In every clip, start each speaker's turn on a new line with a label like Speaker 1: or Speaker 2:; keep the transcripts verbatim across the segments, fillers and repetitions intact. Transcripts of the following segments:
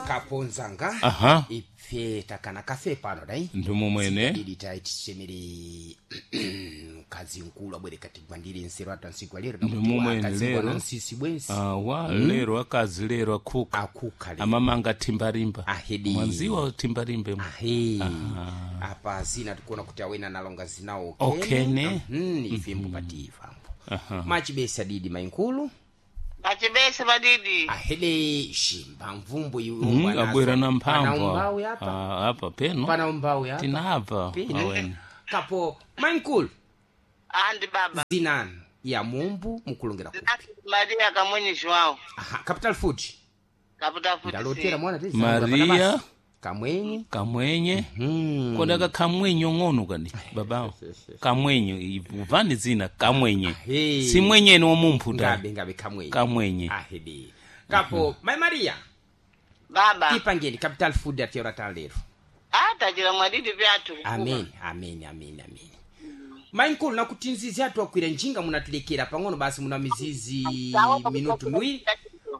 Speaker 1: Kaponzanga.
Speaker 2: Aha.
Speaker 1: Ife takana kafe pano dai.
Speaker 2: Ndimo mwene.
Speaker 1: Didi taitichemere mkazi mkulu abwere katigwandire nseru atu ansiku alero.
Speaker 2: Ndimo mwene lero.
Speaker 1: Nsisi bwensi.
Speaker 2: Awa lero akazi lero akhuka.
Speaker 1: Akhuka lero.
Speaker 2: Amamanga thimbarimba.
Speaker 1: Ahedi.
Speaker 2: Mwanziwa thimbarimba.
Speaker 1: Ahe. Apa zina tikuona kuti awena nalonga zinawo.
Speaker 2: Okene.
Speaker 1: Mhm, ife mbupativambo machibesa didi mainkulu.
Speaker 3: Achibese madidi.
Speaker 1: Ahede shimba mvumbu iwe
Speaker 2: Mm, abwera na mphamvu.
Speaker 1: Umbawi apa.
Speaker 2: Ah, apa peno.
Speaker 1: Pana umbawi apa.
Speaker 2: Tinapa.
Speaker 1: Peno.
Speaker 2: Awene.
Speaker 1: Kapo mainkulu.
Speaker 3: Andi baba.
Speaker 1: Zinani ya mumbu mukulongera ku.
Speaker 3: Maria Kamwenye João.
Speaker 1: Aha, Capital Food.
Speaker 3: Kaputa futi.
Speaker 1: Ndalotera mwana tezi.
Speaker 2: Maria.
Speaker 1: Kamwenye.
Speaker 2: Kamwenye.
Speaker 1: Hmm.
Speaker 2: Kodaka kamwenye ng'ono kani babawo. Kamwenye uvani zina kamwenye.
Speaker 1: Ahe.
Speaker 2: Si mwenyeni womumphu ta.
Speaker 1: Ngabe ngabe kamwenye.
Speaker 2: Kamwenye.
Speaker 1: Ahede. Kapo mai Maria.
Speaker 3: Baba.
Speaker 1: Tipangeni Capital Food atera talero.
Speaker 3: Atachira mwadidi vyatu.
Speaker 1: Amen, amen, amen, amen. Mainkulu nakuti nzizi atu akwira njinga munatulekera pang'ono basi muna mizizi minutu miwiri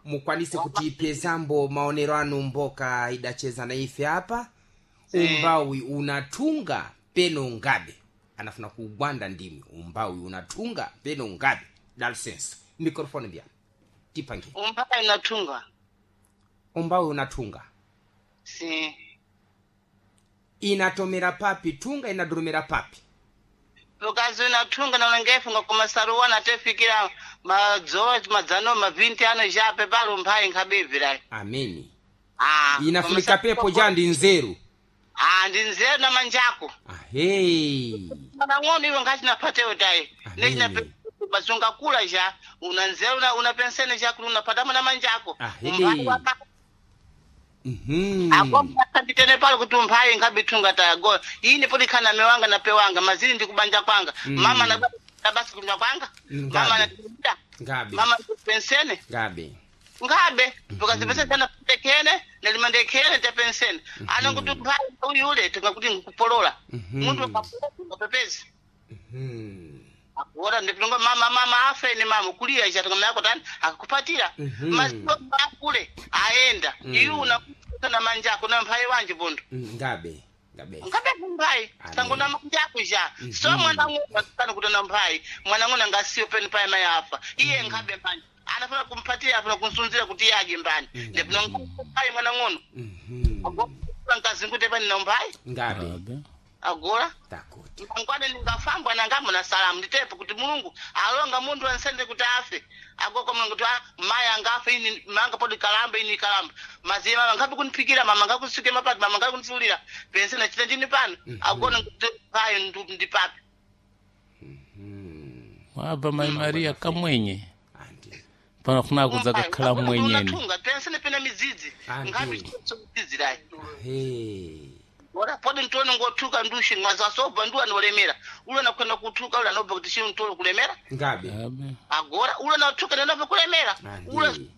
Speaker 1: mukwanise kutipezambo maonero anu mboka idacheza na ife apa. Umbawi unatunga peno ngabe anafuna kugwanda ndimi umbawi unatunga peno ngabe dalsense microphone mbya tipange.
Speaker 3: Umpaka inatunga.
Speaker 1: Umbawi unatunga.
Speaker 3: Si.
Speaker 1: Inatomera papi tunga inadurumira papi.
Speaker 3: Ukazi unatunga na ulengefu ngakoma saruwana tefikira madzowa madzano mavinti ano jape palo mphai nkhabibvira.
Speaker 1: Ameni.
Speaker 3: Ah.
Speaker 1: Inafunika pepo jandi nzeru.
Speaker 3: Ah, ndi nzeru na manjako.
Speaker 1: Ahei.
Speaker 3: Mwana ng'ono iwe ngachinapatewo tayi.
Speaker 1: Ameni.
Speaker 3: Nechina basunga kula ja una nzeru una, una pensene ja kuti unapatamo na manjako.
Speaker 1: Ahedi.
Speaker 3: Umphai waka
Speaker 1: Mhm.
Speaker 3: akonditene palo kuti umphayi nkhabitunga tayago ine poti khana mewanga na pewanga mazili ndi kubanja kwanga. Mama na na basi kunya kwanga.
Speaker 1: Ngabe.
Speaker 3: Mama na kuda.
Speaker 1: Ngabe.
Speaker 3: Mama pensene.
Speaker 1: Ngabe.
Speaker 3: Ngabe because pese tana tekene nalimandekene te pensene. Ana kuti umphayi uyule tingakuti ngikupolola. Muntu akapolola ngapepezi.
Speaker 1: Mhm.
Speaker 3: Akuona ndipinonga mama mama afe ni mama kulia cha tingamaya tani akakupatira.
Speaker 1: Mhm.
Speaker 3: Maziko akule aenda. Iyu unakuta na manjako na mphayi wanje bondo.
Speaker 1: Mm, Ngabe. Ngabe.
Speaker 3: Ngabe mphayi
Speaker 1: Amen.
Speaker 3: sangona manjako ja so mwana ng'ono kana kuti na mphayi mwana ng'ono ngasiyo peni paye mayi afa iye nkhabe mbani anafuna kumpatia afuna kunsunzira kuti iye adye mbani ndipinonga mphayi mwana ng'ono
Speaker 1: Mhm.
Speaker 3: agora nkazingute pani na mphayi
Speaker 1: Ngabe.
Speaker 2: Abe.
Speaker 3: agora
Speaker 1: Takuti.
Speaker 3: mangwana ningafambwa nangamo na salamu nditepo kuti Mulungu alonga munthu ansende kuti afe agoko Mulungu kuti ah, mayi angafe ini manga podi kalamba ini kalamba maziye mama ngapi kuniphikira mama ngakusuke mapati mama ngakundisulira pense nachita ndini pano agona kuti payo ndu- ndipapi.
Speaker 2: Wabva mai Maria kamwenye.
Speaker 1: Andi.
Speaker 2: Pano kuna kudza kakhala mwenyeni.
Speaker 3: unatunga pense nepena midzidzi
Speaker 1: Andi.
Speaker 3: ngapi midzidzi dai.
Speaker 1: Ahei.
Speaker 3: Ora podi ntone ngothuka ndushi mwazasobva ndu anolemera ule nakwenda kuthuka ule anobva kuti chii ntolo kulemera.
Speaker 1: Ngabe.
Speaker 2: Abe.
Speaker 3: Agora ule nathuka nenobva kulemera ule
Speaker 1: Andi.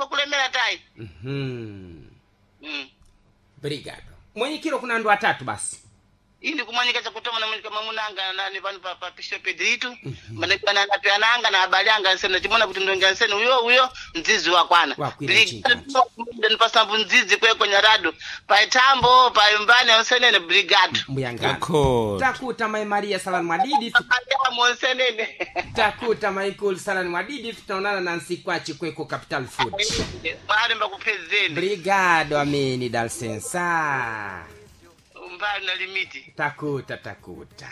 Speaker 3: kulemera tayi.
Speaker 1: Mhm.
Speaker 3: Mm.
Speaker 1: Brigado. Mwenyekiro kuna andu atatu basi.
Speaker 3: Ini kumanyika chakutoma namanyika mamunanga nani pano pa pa Bishop Pedrito manekana na piananga na abali anga nsene chimona kuti ndonga nsene uyo uyo mdzizi wakwana.
Speaker 1: Wakwira chinga.
Speaker 3: Ndipasa mdzizi kweko nyarado paitambo paimbani nsenene brigade.
Speaker 1: Mbuyangano.
Speaker 2: Akho.
Speaker 1: Takuta mai Maria salani mwadidi.
Speaker 3: Amo nsenene.
Speaker 1: Takuta Michael salani mwadidi tutaonana na nsikwachi kweko Capital Food.
Speaker 3: Mwari mbakupedzeni.
Speaker 1: Brigado ameni dalsensa.
Speaker 3: Umbali na limiti.
Speaker 1: Takuta takuta.